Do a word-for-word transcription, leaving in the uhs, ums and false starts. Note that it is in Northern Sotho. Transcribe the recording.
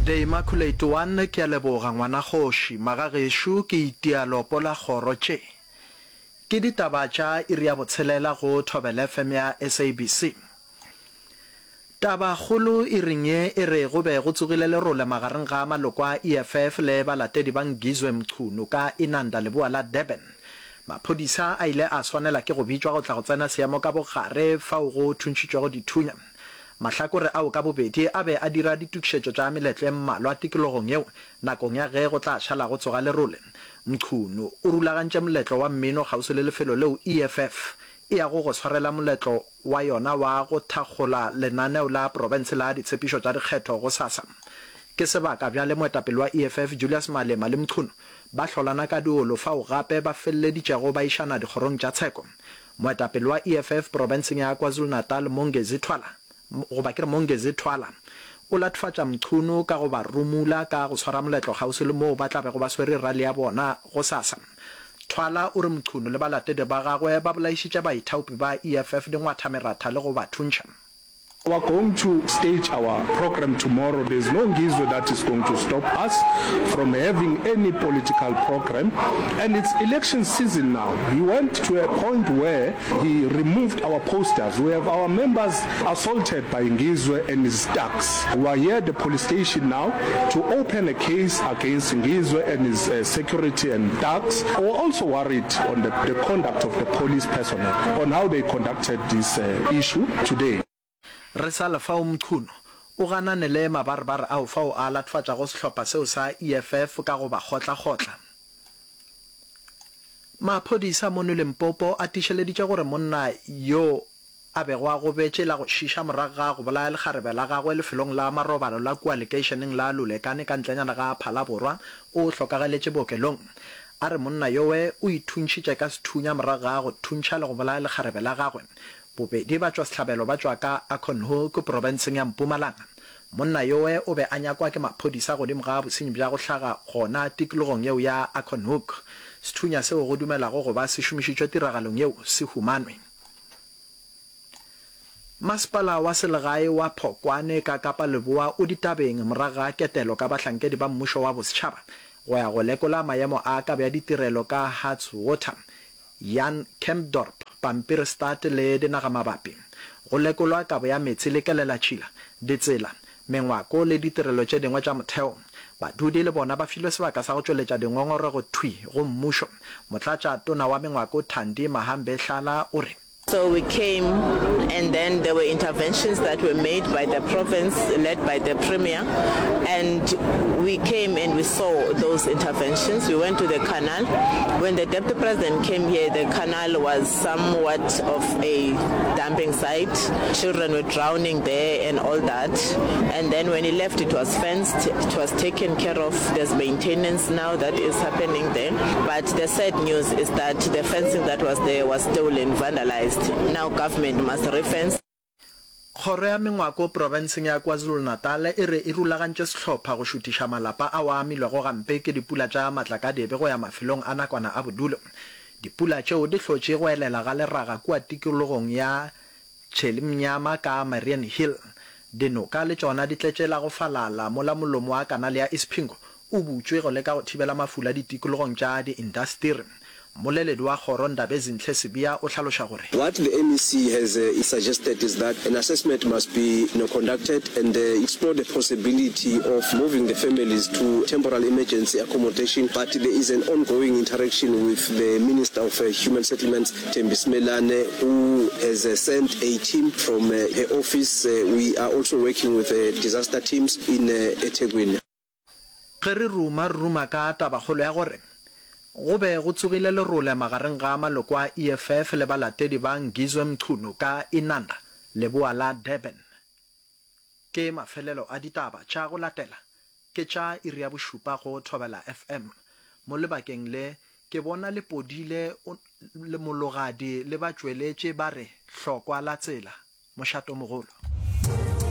The Immaculate One, Ke a leboga, ngwanakgoši. Magagešo, ke itia lopo la kgoro tše. Ke ditaba tša iri ya botshelela go Thobela F M ya S A B C. Tabakgolo iring ye e re go be go tsogile lerole magareng ga maloko a E F F le balatedi ba Ngizwe Mchunu ka Inanda leboa la Durban. Maphodisa a ile a swanela ke go bitšwa go tla go tsena seemo ka bogare fao go thuntšhitšwego dithunya. Mahlakore ao ka bobedi a be a dira ditokišetšo tša meletlo e mmalwa tikologong yeo nakong ya ge go tla šala go tsoga lerole. Mchunu o rulagantše moletlo wa mmino kgauswi le lefelo leo E F F e yago go swarela moletlo wa yona wa go thakgola lenaneo la profense la ditshepišo tša dikgetho gosasa. Ke sebaka bjale moetapele wa E F F Julius Malema le Mchunu ba hlolana ka diolo fao gape ba feleleditšego ba išana dikgorong tša tsheko. Moetapele wa E F F profenseng ya KwaZulu-Natal Mongezi Thwala, goba ke re Mongezi Thwala, o latofatša Mchunu ka go ba rumula ka go swara moletlo kgauswi le moo ba tla bego ba swere rally ya bona gosasa. Thwala o re Mchunu le balatedi ba gagwe ba bolaišitše baithaopi ba E F F dingwathameratha le go ba thuntšha. We are going to stage our program tomorrow. There's no Ngizwe that is going to stop us from having any political program. And it's election season now. He went to a point where he removed our posters. We have our members assaulted by Ngizwe and his thugs. We are here at the police station now to open a case against Ngizwe and his uh, security and thugs. We're also worried on the, the conduct of the police personnel, on how they conducted this uh, issue today. Re sa le fao Mchunu o ganane le mabarebare ao fao a latofatšago sehlopha seo sa E F F ka go ba kgotlakgotla. Maphodisa mono Limpopo a tiišeleditše gore monna yo a bego a gobetše la go šiša morago ga go bolaya lekgarebe la gagwe lefelong la marobalo la kua lekeišeneng la Lulekane ka ntlenyana ga Phalaborwa o hlokagaletše bookelong. A re monna yowe o ithuntšhitše ka sethunya morago ga go thuntšha le go bolaya lekgarebe la gagwe. Bobedi ba tšwa sehlabelo ba tšwa ka Acornhoek profenseng ya Mpumalanga. Monna yowe o be a nyakwa ke maphodisa godimo ga bosenyi bja go hlaga gona tikologong yeo ya Acornhoek. Sethunya seo go dumelago go ba se šomišitšwe tiragalong yeo se humanwe. Masepala wa selegae wa Phokwane ka Kapa Leboa o ditabeng morago ga ketelo ka bahlankedi ba mmušo wa bosetšhaba go ya go lekola maemo a kabo ya ditirelo ka Hartswater, Jan Kempdorp, Pampierstad le dinagamabapi. Go lekolwa kabo ya meetse le kelelatšhila, ditsela, mengwako le ditirelo tše dingwe tša motheo. Badudi le bona ba filwe sebaka sa go tšweletša dingongorego thwi go mmušo. Motlatšatona wa mengwako Thandi Mahambehlala o re. So we came, and then there were interventions that were made by the province, led by the premier, and we came and we saw those interventions. We went to the canal. When the deputy president came here, the canal was somewhat of a dumping site. Children were drowning there and all that. And then when he left, it was fenced, it was taken care of. There's maintenance now that is happening there. But the sad news is that the fencing that was there was stolen, vandalized. Now government must refence. Kgoro ya mengwako profenseng ya KwaZulu-Natal e re e rulagantše sehlopha go šuthiša malapa ao a amilwego gampe ke dipula tša matlakadibe go ya mafelong a nakwana a bodulo. Dipula tšeo di hlotše go elela ga leraga kua tikologong ya Tšhelimnyama ka Mariannhill. Dinoka le tšona di tletše la go falala mola molomo wa kanale ya Isipingo o butšwe go leka go thibela mafula ditikologong tša diindasteri. Mmoleledi wa kgoro Ndabezinhle Sibiya o hlaloša gore. What the M E C has uh, suggested is that an assessment must be you know, conducted and uh, explore the possibility of moving the families to temporal emergency accommodation. But there is an ongoing interaction with the Minister of uh, Human Settlements, Thembi Simelane, who has uh, sent a team from uh, her office. Uh, we are also working with uh, disaster teams in uh, eThekwini. Ge re ruma, re ruma ka tabakgolo ya gore go be go tsogile lerole magareng ga maloko a E F F le balatedi ba Ngizwe Mchunu ka Inanda, leboa la Durban. Ke mafelelo a ditaba tša go latela ke tša iri ya bošupa go Thobela F M. Mo lebakeng le ke bona le podile le Mologadi le ba tšweletše ba re hlokwa la tsela. Mošatomogolo.